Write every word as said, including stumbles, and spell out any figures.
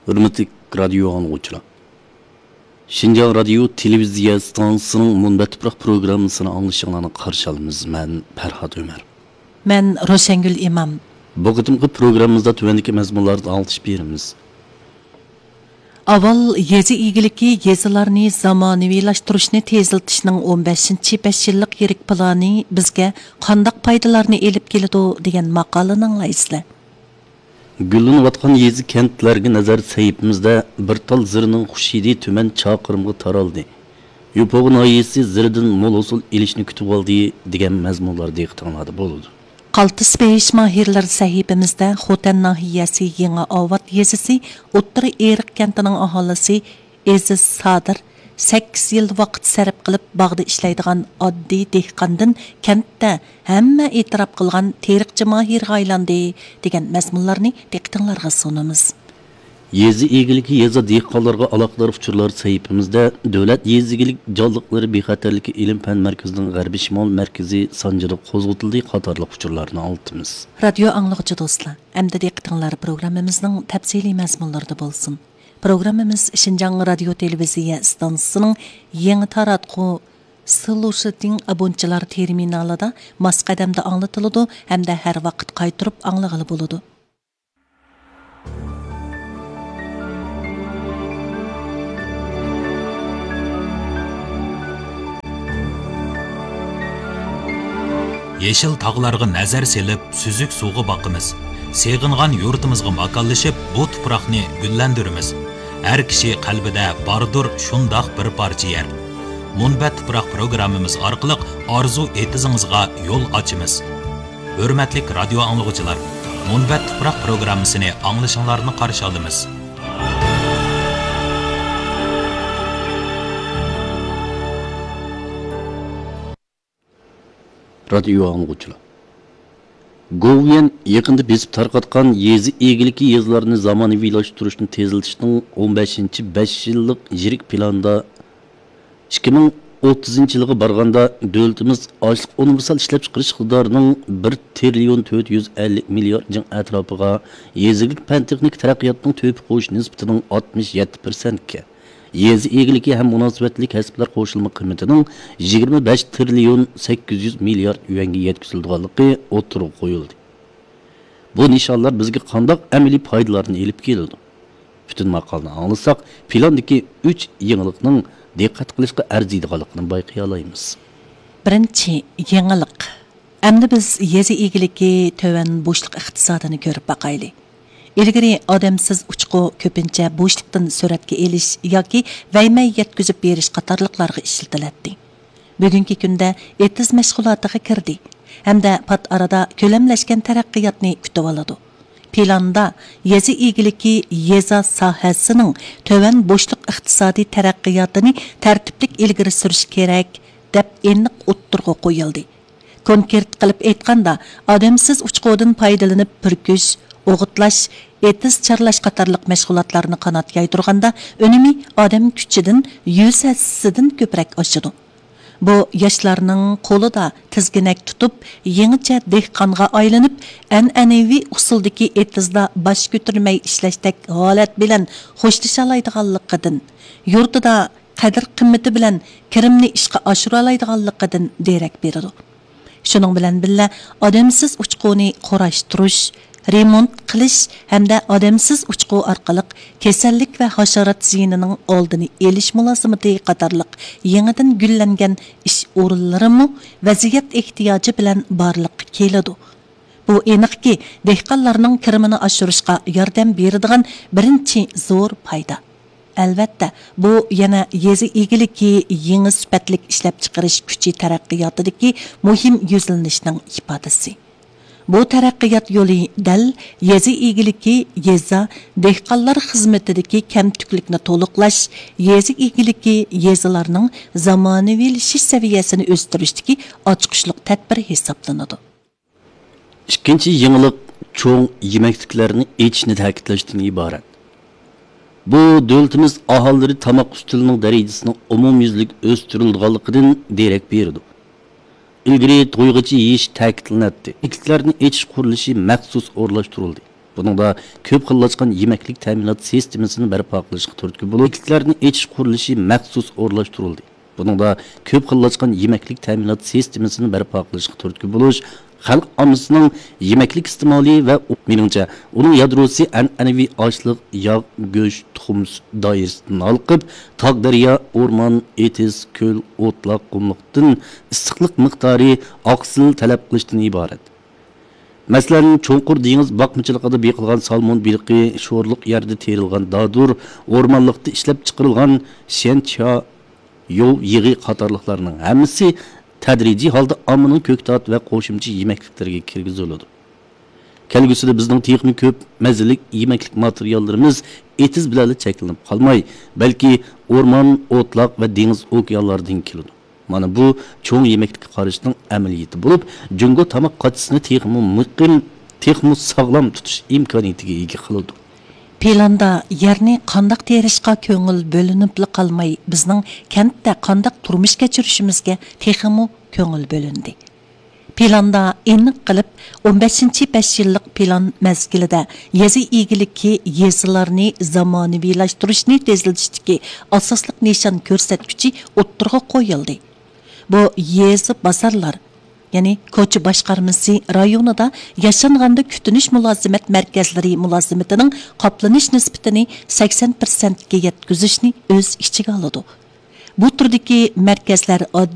ھۆرمەتلىك رادىيو ئاڭلىغۇچىلار! شىنجاڭ رادىيو تېلېۋىزىيە ئىستانسىسىنىڭ مۇنبەت تۇپراق پروگراممىسىنى ئاڭلىشىڭلارنى قارشى ئالىمىز. مەن پەرھات ئۆمەر. مەن روشەنگۈل ئىمام. بۇ قېتىمقى پروگراممىمىزدا تۆۋەندىكى مەزمۇنلاردا ئاڭلىتىش بېرىمىز. ئاۋۋال يېزا ئىگىلىكى، يېزىلارنى زامانىۋىلاشتۇرۇشنى تېزلىتىشنىڭ ئون بەشىنچى بەش يىللىق يىرىك پىلانى بىزگە قانداق پايدىلارنى ئېلىپ كېلىدۇ دېگەن ماقالىنى ئاڭلايسىلەر. گۈللىنىۋاتقان يېزا، كەنتلەرگە نەزەر سەھىپىمىزدە بىر تال زىرنىڭ خۇش ھىدى تۈمەن چاقىرىمغا تارالدى. يوپۇرغا ناھىيەسى زىردىن مول ھوسۇل ئېلىشنى كۈتۈۋالدى دېگەن مەزمۇنلار دىققىتىڭلاردا بولىدۇ. قالتىس بېيىش ماھىرلىرى سەھىپىمىزدە خوتەن ناھىيەسى يېڭى ئاۋات يېزىسى ئوتتۇرا ئېرىق كەنتىنىڭ ئاھالىسى ئېزىز سادىر سەككىز يىل ۋاقىت سەرپ قىلىپ باغدا ئىشلەيدىغان ئاددىي دېھقاندىن كەنتتە ھەممە ئېتىراپ قىلغان تېرىقچى ماھىرغا ئايلاندى دېگەن مەزمۇنلارنى دىققىتىڭلارغا سۇنىمىز. يېزا ئىگىلىكى، يېزا، دېھقانلارغا ئالاقىدار ئۇچۇرلار سەھىپىمىزدە دۆلەت يېزا ئىگىلىك جانلىقلىرى بىخەتەرلىكى ئىلىم-پەن مەركىزىنىڭ غەربىي شىمال مەركىزى سانجىدا قوزغىتىلدى قاتارلىق ئۇچۇرلارنى ئاڭلىتىمىز. رادىيو ئاڭلىغۇچى دوستلار، ئەمدى دىققىتىڭلار پروگراممىمىزنىڭ تەپسىلىي مەزمۇنلىرىدا بولسۇن. پروگراممىمىز شىنجاڭ رادىيو تېلېۋىزىيە ئىستانسىسىنىڭ يېڭى تاراتقۇ سلۇشىتىڭ ئابونتچىلار تېرمىنالىدا ماس قەدەمدە ئاڭلىتىلىدۇ ھەمدە ھەر ۋاقىت قايتۇرۇپ ئاڭلىغىلى بولىدۇ. يېشىل تاغلارغا نەزەر سېلىپ، سۈزۈك سۇغا باقىمىز. سېغىنغان يۇرتىمىزغا ماكانلىشىپ، بۇ تۇپراقنى گۈللەندۈرىمىز. ھەر كىشى قەلبىدە باردۇر شۇنداق بىر پارچە يەر. مۇنبەت تۇپراق پروگراممىمىز ئارقىلىق ئارزۇ ئېتىزىڭىزغا يول ئاچىمىز. ھۆرمەتلىك رادىيو ئاڭلىغۇچىلار، مۇنبەت تۇپراق پروگراممىسىنى ئاڭلىشىڭلارنى قارشى ئالىمىز. رادىيو ئاڭلىغۇچىلار، گوۋۇيۈەن يېقىندا بېسىپ تارقاتقان يېزا ئىگىلىكى، يېزىلارنى زامانىۋىلاشتۇرۇشنى تېزلىتىشنىڭ ئون بەشىنچى بەش يىللىق يىرىك پىلانىدا ئىككى مىڭ ئوتتۇزىنچى يىلغا بارغاندا، دۆلىتىمىز ئاشلىق ئۇنىۋېرسال ئىشلەپچىقىرىش ئىقتىدارىنىڭ بىر تىرىليون تۆت يۈز ئەللىك مىليارد جىڭ ئەتراپىغا، يېزا ئىگىلىك پەن-تېخنىكا تەرەققىياتىنىڭ تۆھپە قوشۇش نىسبىتىنىڭ ئاتمىش يەتتە پىرسەنتكە، يېزا ئىگىلىكى ھەم مۇناسىۋەتلىك كەسىپلەر قوشۇلما قىممىتىنىڭ يىگىرمە بەش تىرىليون سەككىز يۈز مىليارد يۈەنگە يەتكۈزۈلىدىغانلىقى ئوتتۇرىغا قويۇلدى. بۇ نىشانلار بىزگە قانداق ئەمەلىي پايدىلارنى ئېلىپ كېلىدۇ؟ پۈتۈن ماقالىنى ئاڭلىساق، پىلاندىكى ئۈچ يېڭىلىقنىڭ دىققەت قىلىشقا ئەرزىيدىغانلىقىنى بايقىيالايمىز. بىرىنچى يېڭىلىق. ئەمدى بىز يېزا ئىگىلىكى تۆۋەن بوشلۇق ئىقتىسادىنى كۆرۈپ باقايلى. ئىلگىرى ئادەمسىز ئۇچقۇ كۆپىنچە بوشلۇقتىن سۈرەتكە ئېلىش ياكى ۋەيمەي يەتكۈزۈپ بېرىش قاتارلىقلارغا ئىشلىتىلەتتى. بۈگۈنكى كۈندە ئېتىز مەشغۇلاتىغا كىردى ھەمدە پات ئارىدا كۆلەملەشكەن تەرەققىياتنى كۈتۈۋالىدۇ. پىلاندا يېزا ئىگىلىكى، يېزا ساھەسىنىڭ تۆۋەن بوشلۇق ئىقتىسادىي تەرەققىياتىنى تەرتىپلىك ئىلگىرى سۈرۈش كېرەك، دەپ ئېنىق ئوتتۇرىغا قويۇلدى. كونكرېت قىلىپ ئېيتقاندا، ئادەمسىز ئۇچقۇدىن پايدىلىنىپ پۈركۈش، ئوغۇتلاش، ئېتىز چارلاش قاتارلىق مەشغۇلاتلارنى قانات يايدۇرغاندا، ئۈنۈمى ئادەم كۈچىدىن يۈز ھەسسىدىن كۆپرەك ئاشىدۇ. بۇ ياشلارنىڭ قولىدا تىزگىنەك تۇتۇپ، يېڭىچە دېھقانغا ئايلىنىپ، ئەنئەنىۋى ئۇسۇلدىكى ئېتىزدا باش كۆتۈرمەي ئىشلەشتەك ھالەت بىلەن خوشلىشالايدىغانلىقىدىن، يۇرتىدا قەدىر-قىممىتى بىلەن كىرىمنى ئىشقا ئاشۇرالايدىغانلىقىدىن دېرەك بېرىدۇ. شۇنىڭ بىلەن بىللە، ئادەمسىز ئۇچقۇنى قۇراشتۇرۇش، رېمونت قىلىش ھەمدە ئادەمسىز ئۇچقۇ ئارقىلىق كېسەللىك ۋە ھاشارات زىيىنىنىڭ ئالدىنى ئېلىش مۇلازىمىتى قاتارلىق يېڭىدىن گۈللەنگەن ئىش ئورۇنلىرىمۇ ۋەزىيەت ئېھتىياجى بىلەن بارلىققا كېلىدۇ. بۇ ئېنىقكى، دېھقانلارنىڭ كىرىمىنى ئاشۇرۇشقا ياردەم بېرىدىغان بىرىنچى زور پايدا. ئەلۋەتتە، بۇ يەنە يېزا ئىگىلىكى يېڭى سۈپەتلىك ئىشلەپچىقىرىش كۈچى تەرەققىياتىدىكى مۇھىم يۈزلىنىشنىڭ ئىپادىسى. بۇ تەرەققىيات يولى دەل يېزا ئىگىلىكى، يېزا، دېھقانلار خىزمىتىدىكى كەمتۈكلۈكنى تولۇقلاش، يېزا ئىگىلىكى، يېزىلارنىڭ زامانىۋىلىشىش سەۋىيەسىنى ئۆستۈرۈشتىكى ئاچقۇچلۇق تەدبىر ھېسابلىنىدۇ. ئىككىنچى يېڭىلىق چوڭ يېمەكلىكلەرنى ئېچىشنى تەكىتلەشتىن ئىبارەت. بۇ دۆلىتىمىز ئاھالىلىرى تاماق ئۈستىلىنىڭ دەرىجىسىنىڭ ئومۇميۈزلۈك ئۆستۈرۈلىدىغانلىقىدىن دېرەك بېرىدۇ. ئىلگىرى تويغىچە يېيىش تەكىتلىنەتتى. يېمەكلىكلەرنى ئېچىش قۇرۇلۇشى مەخسۇس ئورۇنلاشتۇرۇلدى. بۇنىڭدا كۆپ خىللاشقان يېمەكلىك تەمىنات سىستېمىسىنى بەرپا قىلىشقا تۈرتكە بولۇش، يېمەكلىكلەرنى ئېچىش قۇرۇلۇشى مەخسۇس ئورۇنلاشتۇرۇلدى. بۇنىڭدا كۆپ خىللاشقان يېمەكلىك تەمىنات سىستېمىسىنى بەرپا قىلىشقا تۈرتكە بولۇش، خەلق ئاممىسىنىڭ يېمەكلىك ئىستېمالى ۋە ئۇ-، مېنىڭچە، ئۇنىڭ يادروسى ئەنئەنىۋى ئاشلىق، ياغ، گۆش، تۇخۇم، سۈت دائىرىسىدىن ھالقىپ، تاغ، دەريا، ئورمان، ئېتىز، كۆل، ئوتلاق، قۇملۇقتىن ئىسسىقلىق مىقدارى، ئاقسىل تەلەپ قىلىشتىن ئىبارەت. مەسىلەن، چوڭقۇر دېڭىز باقمىچىلىقىدا بېقىلغان سالمون بېلىقى، شورلۇق يەردە تېرىلغان دادۇر، ئورمانلىقتا ئىشلەپ چىقىرىلغان شيەنچيا، يوۋ يېغى قاتارلىقلارنىڭ ھەممىسى تەدرىجىي ھالدا ئاممىنىڭ كۆكتات ۋە قوشۇمچە يېمەكلىكلىرىگە كىرگۈزۈلىدۇ. كەلگۈسىدە بىزنىڭ تېخىمۇ كۆپ مەززىلىك يېمەكلىك ماتېرىياللىرىمىز ئېتىز بىلەنلا چەكلىنىپ قالماي، بەلكى ئورمان، ئوتلاق ۋە دېڭىز، ئوكيانلاردىن كېلىدۇ. مانا بۇ چوڭ يېمەكلىككە قارىشنىڭ ئەمەلىيىتى بولۇپ، جۇڭگو تاماق قاچىسىنى تېخىمۇ مۇقىم، تېخىمۇ ساغلام تۇتۇش ئىمكانىيىتىگە ئىگە قىلىدۇ. پىلاندا يەرنى قانداق تېرىشقا كۆڭۈل بۆلۈنۈپلا قالماي، بىزنىڭ كەنتتە قانداق تۇرمۇش كەچۈرۈشىمىزگە تېخىمۇ كۆڭۈل بۆلۈندى. پىلاندا ئېنىق قىلىپ، ئون بەشىنچى بەش يىللىق پىلان مەزگىلىدە يېزا ئىگىلىكى، يېزىلارنى زامانىۋىلاشتۇرۇشنى تېزلىتىشتىكى ئاساسلىق نىشان كۆرسەتكۈچى ئوتتۇرىغا قويۇلدى. بۇ يېزا بازارلار، يەنى كوچا باشقارمىسى رايونىدا ياشانغاندا كۈتۈنۈش مۇلازىمەت مەركەزلىرى مۇلازىمىتىنىڭ قاپلىنىش نىسبىتىنى سەكسەن پىرسەنتكە يەتكۈزۈشنى ئۆز ئىچىگە ئالىدۇ. بۇ تۈردىكى مەركەزلەر